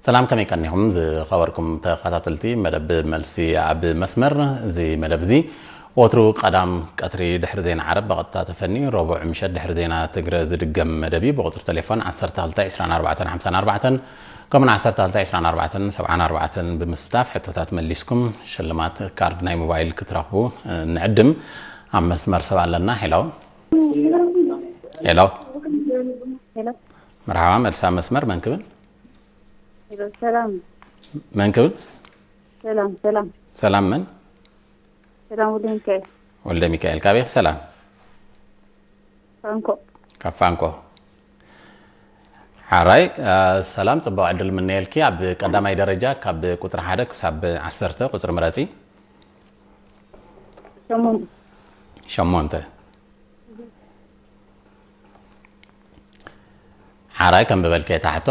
ሰላም፣ ከመይ ቀኒኹም ዝኸበርኩም ተኸታተልቲ መደብ መልሲ ኣብ መስመር? እዚ መደብ እዚ ወትሩ ቀዳም ቀትሪ ድሕሪ ዜና ዓረብ ብቐጥታ ተፈኒ፣ ረቡዕ ምሸት ድሕሪ ዜና ትግረ ዝድገም መደብ እዩ። ብቁጽሪ ቴሌፎን ዓሰርተ ክልተ ዕስራን ኣርባዕተን ሓምሳን ኣርባዕተን ከምኡን ዓሰርተ ክልተ ዕስራን ኣርባዕተን ሰብዓን ኣርባዕተን ብምስታፍ ሕቶታት መሊስኩም ሽልማት ካርድ ናይ ሞባይል ክትረኽቡ ንዕድም። ኣብ መስመር ሰብ ኣለና። ሄሎ። ሄሎ። መርሓባ፣ መልሲ ኣብ መስመር፣ መን ክብል? ሰላም። መን ክብል? ሰላም ሰላም። ሰላም መን? ሰላም ወልደ ሚካኤል። ወልደ ሚካኤል፣ ካበይ ኢኺ? ሰላም። ፋንኮ። ካብ ፋንኮ። ሓራይ። ሰላም፣ ጽቡቕ ዕድል ምነየልኪ። ኣብ ቀዳማይ ደረጃ ካብ ቁጽሪ ሓደ ክሳብ ዓሰርተ ቁጽሪ ምረጺ። ሸሞንተ። ሸሞንተ። ሓራይ፣ ከም ብበልከ እታ ሕቶ።